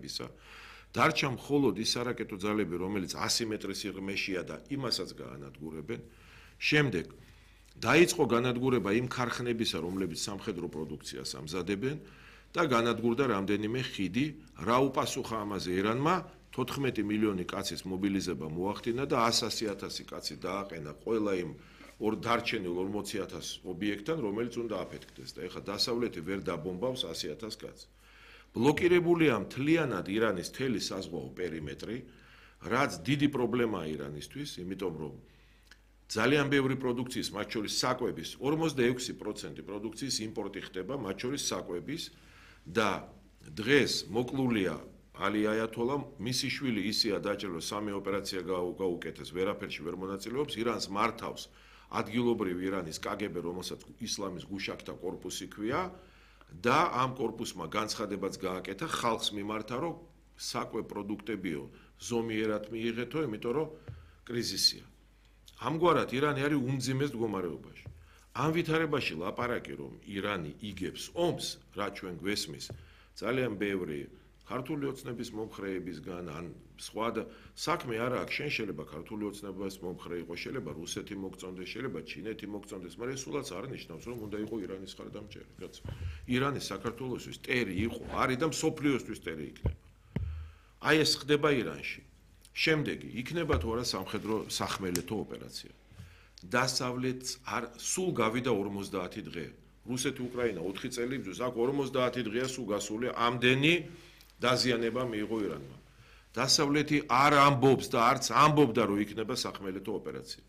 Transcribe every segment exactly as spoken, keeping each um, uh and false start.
განხილვებისა. დარჩა მხოლოდ ის არაკეტო ძალები, რომელიც ასი მეტრის სიღრმეშია და იმასაც გაანადგურებენ. შემდეგ დაიწყო განადგურება იმ ქარხნებისა, რომლებიც სამხედრო პროდუქციას ამზადებენ და განადგურდა რამდენიმე ხიდი, რა უპასუხა ამაზე ირანმა, თოთხმეტი მილიონი კაცის მობილიზება მოახდინა და ასი ათასი კაცი დააყენა ყველა იმ ორ დარჩენილ ორმოცი ათას ობიექტთან, რომელიც უნდა აფეთქდეს და ეხლა დასავლეთი ვერ დაბომბავს ასი ათას კაცს. ბლოკირებულია მთლიანად ირანის მთელი საზღვაო პერიმეტრი, რაც დიდი პრობლემაა ირანისთვის, იმიტომ რომ ძალიან ბევრი პროდუქციის, მათ შორის საკვების, ორმოცდაექვსი პროცენტი პროდუქციის იმპორტი ხდება, მათ შორის საკვების და დღეს მოკლულია ალი აიათოლა, მისი შვილი ისია დაჭრილი, სამი ოპერაცია გაუკეთეს, ვერაფერში ვერ მონაწილეობს, ირანს მართავს ადგილობრივ ირანის კაგებე, რომელსაც ისლამის გუშაქთა კორპუსი ქვია და ამ კორპუსმა განცხადებაც გააკეთა ხალხს მიმართა, რომ საკვე პროდუქტებიო ზომიერად მიიღეთო, იმიტომ რომ კრიზისია. ამგვარად ირანი არის უმძიმეს მდგომარეობაში. ამ ვითარებაში ლაპარაკი, რომ ირანი იგებს ომს, რა ჩვენ გვესმის, ძალიან ბევრი ქართული ოცნების მომხრეებისგან, ან სხვა და საქმე არა აქვს, შენ შეიძლება ქართული ოცნების მომხრე იყო, შეიძლება რუსეთი მოგწონდეს, შეიძლება ჩინეთი მოგწონდეს, მაგრამ სულაც არ ნიშნავს, რომ უნდა იყო ირანის ხარდამჭერი, კაცო. ირანი საქართველოსთვის ტერი იყო, არის და მსოფლიოსთვის ტერი იქნება. აი ეს ხდება ირანში. შემდეგი, იქნება თუ არა სამხედრო სახმელეთო ოპერაცია. დასავლეთს არ სულ გავიდა ორმოცდაათი დღე. რუსეთი უკრაინა ოთხი წელი ბრძვის, აქ ორმოცდაათი დღეა სულ გასული, ამდენი დაზიანება მიიღო ირანმა. დასავლეთი არ ამბობს და არც ამბობდა, რომ იქნება სახმელეთო ოპერაცია.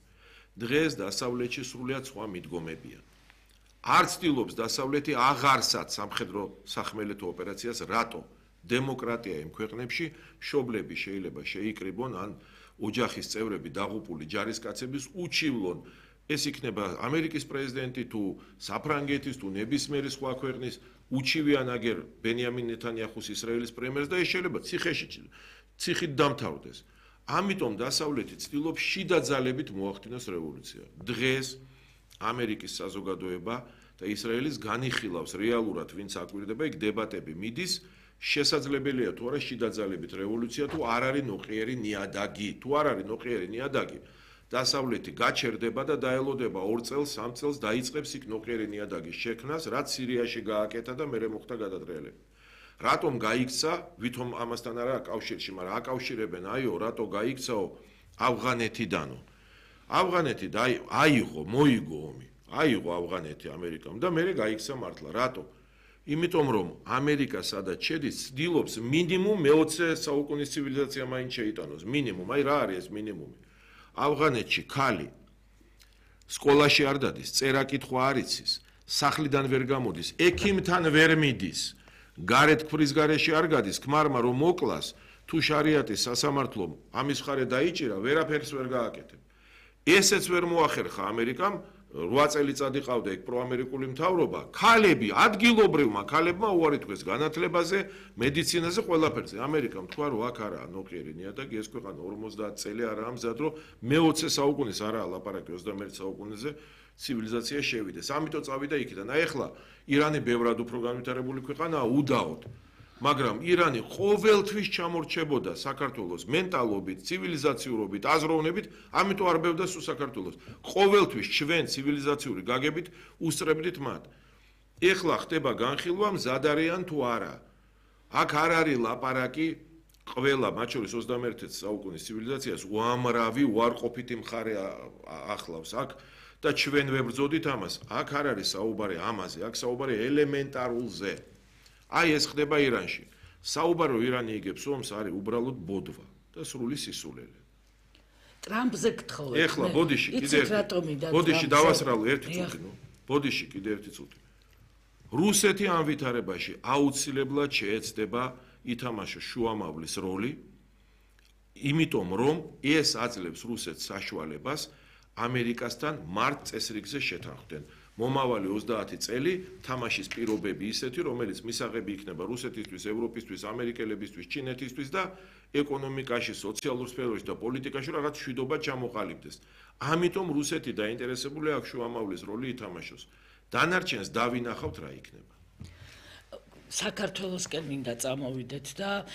დღეს დასავლეთში სრულიად სხვა მიდგომებია. არ ცდილობს დასავლეთი აღარსად სამხედრო სახმელეთო ოპერაციას, რატო? დემოკრატია იმ ქვეყნებში მშობლები შეიძლება შეიკრიბონ ან ოჯახის წევრები დაღუპული ჯარისკაცების უჩივლონ. ეს იქნება ამერიკის პრეზიდენტი თუ საფრანგეთის თუ ნებისმიერი სხვა ქვეყნის უჩივიან აგერ ბენიამინ ნეთანიახუს ისრაელის პრემიერს და ეს შეიძლება ციხეში ციხით დამთავრდეს. ამიტომ დასავლეთი ცდილობს შიდა ძალებით მოახდინოს რევოლუცია. დღეს ამერიკის საზოგადოება და ისრაელის განიხილავს რეალურად ვინც აკვირდება, იქ დებატები მიდის, შესაძლებელია თუ არა შიდა ძალებით რევოლუცია თუ არ არის ნოყიერი ნიადაგი, თუ არ არის ნოყიერი ნიადაგი. დასავლეთი გაჩერდება და დაელოდება ორ წელს, სამ წელს დაიწყებს იქ ნოყიერი ნიადაგის შექმნას, რაც სირიაში გააკეთა და მერე მოხდა გადატრიალება. რატომ გაიქცა, ვითომ ამასთან არა კავშირში, მაგრამ აკავშირებენ, აიო, რატო გაიქცაო ავღანეთიდანო. ავღანეთი აიღო, მოიგო ომი, აიღო ავღანეთი ამერიკამ და მერე გაიქცა მართლა. რატო? იმიტომ რომ ამერიკა სადაც შედის, ცდილობს მინიმუმ მეოცე საუკუნის ცივილიზაცია მაინც შეიტანოს, მინიმუმ, აი რა არის ეს მინიმუმი? ავღანეთში ქალი სკოლაში არ დადის, წერა-კითხვა არ იცის, სახლიდან ვერ გამოდის, ექიმთან ვერ მიდის, გარეთ ქმრის გარეშე არ გადის, ქმარმა რომ მოკლას, თუ შარიატის სასამართლომ ამის მხარე დაიჭირა, ვერაფერს ვერ გააკეთებ. ესეც ვერ მოახერხა ამერიკამ, რვა წელიწადი ყავდა ეგ პროამერიკული მთავრობა, ქალები, ადგილობრივმა ქალებმა უარი თქვეს განათლებაზე, მედიცინაზე, ყველაფერზე. ამერიკამ თქვა, რომ აქ არაა ნოყიერი ნიადაგი, ეს ქვეყანა ორმოცდაათი წელი არაა მზად, რომ მეოცე საუკუნის არაა ლაპარაკი ოცდამეერთე საუკუნეზე ცივილიზაცია შევიდეს. ამიტომ წავიდა იქიდან. აი ახლა ირანი ბევრად უფრო განვითარებული ქვეყანაა უდაოდ. მაგრამ ირანი ყოველთვის ჩამორჩებოდა საქართველოს მენტალობით, ცივილიზაციურობით, აზროვნებით, ამიტომ არ ბევრდა სულ საქართველოს. ყოველთვის ჩვენ ცივილიზაციური გაგებით უსწრებდით მათ. ეხლა ხდება განხილვა, მზად არიან თუ არა. აქ არ არის ლაპარაკი, ყველა, მათ შორის ოცდამეერთე საუკუნის ცივილიზაციას უამრავი უარყოფითი მხარე ახლავს. აქ და ჩვენ ვებრძოდით ამას. აქ არ არის საუბარი ამაზე, აქ საუბარი ელემენტარულზე. აი ეს ხდება ირანში. საუბარო ირანი იგებს ომს არის უბრალოდ ბოდვა და სრული სისულელე. ტრამპზე გთხოვეთ. ეხლა ბოდიში კიდე ბოდიში დავასრალო ერთი წუთი, ნუ. ბოდიში კიდე ერთი წუთი. რუსეთი ამ ვითარებაში აუცილებლად შეეცდება ითამაშოს შუამავლის როლი, იმიტომ რომ ეს აძლევს რუსეთს საშუალებას ამერიკასთან მართ წესრიგზე შეთანხმდნენ. მომავალი ოცდაათი წელი თამაშის პირობები ისეთი, რომელიც მისაღები იქნება რუსეთისთვის, ევროპისთვის, ამერიკელებისთვის, ჩინეთისთვის და ეკონომიკაში, სოციალურ სფეროში და პოლიტიკაში რაღაც მშვიდობა ჩამოყალიბდეს. ამიტომ რუსეთი დაინტერესებული აქვს შუამავლის როლი ითამაშოს. დანარჩენს დავინახავთ რა იქნება. საქართველოსკენ მინდა წამოვიდეთ და